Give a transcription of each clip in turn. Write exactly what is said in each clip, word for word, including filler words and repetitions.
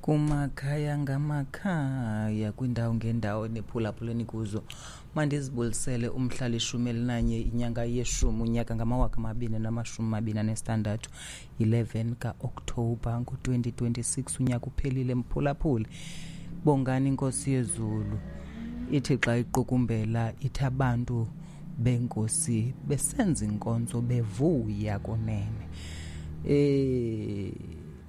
Kumakhaya ngamakhaya, kwindawo ngendawo nephulaphuleni kuzo, mandizibulisele umhla lishumi elinanye inyanga yeshumi unyaka ngamawaka amabini namashumi amabini anesithandathu, eleven ka-Okthobha ngo-twenty twenty-six. Unyaka uphelile, mphulaphuli. Bongani iNkosi yezulu. Ithi xa iqukumbela ithi abantu benkosi besenza inkonzo bevuya kunene. Eh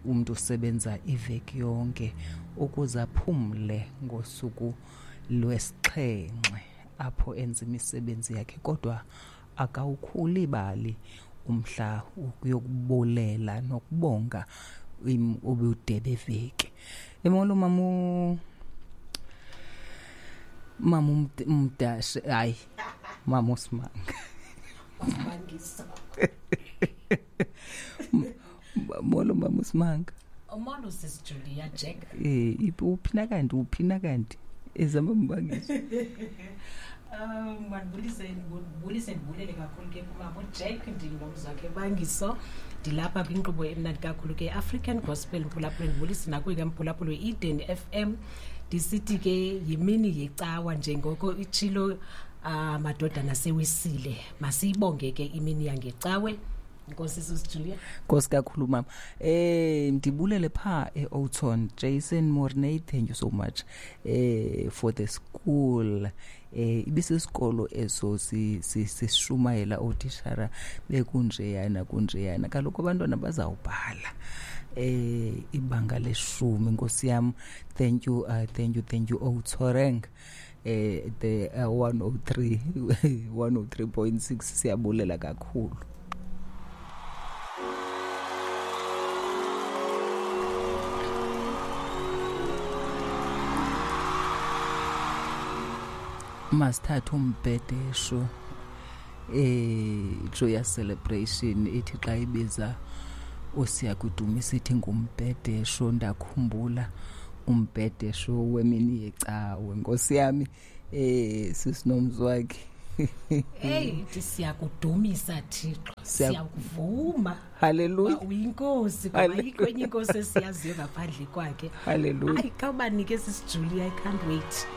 umuntu usebenza iveki yonke ukuze aphumle ngosuku lwesixhenxe apho enza imisebenzi yakhe, kodwa akawukhulibali umhla ukuyokubulela nokubonga ubude beveki. Emolo mamu mamu Mdashe, hayi mamu Simanga. Molo mamu Simanga. Molo sis Julia Jack. Eh uphina kanti uphina kanti ezama mbangiso. Um mandibulise ndibulise ndibulele kakhulu ke kumama Jack ndingomzakhe Bangiso. Ndilapha kwinkqubo emnandi kakhulu ke African Gospel Mphulaphula, ndibulise nakuye ke Mphulaphula Eden F M. Ndisithi ke yimini yecawa njengoko itshilo amadodana sewisile. Masiyibonge ke imini yangecawe. Nkosi sis Julia. Nkosi kakhulu mama. Eh ndibulele pha eOuton Jason Mornay, thank you so much eh for the school. Eh ibisisikolo eso sishumayela otishara bekunjeyana kunjeyana, kaloku abantwana bazawubhala eh ibanga leshumi. Nkosi yam, thank you uh, thank you thank you Outoreng eh the uh, one oh three one oh three point six, siyabulela kakhulu. Masithathe umbhedesho eh joyous celebration ithi xa ibiza uSiyakudumisa ithi ngumbhedesho. Ndakhumbula umbhedesho wemini yecawe, Nkosi yami. Eh sisinomzwakhe. Hey ithi siyakudumisa Thixo, siyakuvuma. Hallelujah. Uyinkosi, ngoba ayikho enye inkosi esiyaziyo ngaphandle kwakhe. Hallelujah. Ayi khawubanike sis Julia, I can't wait.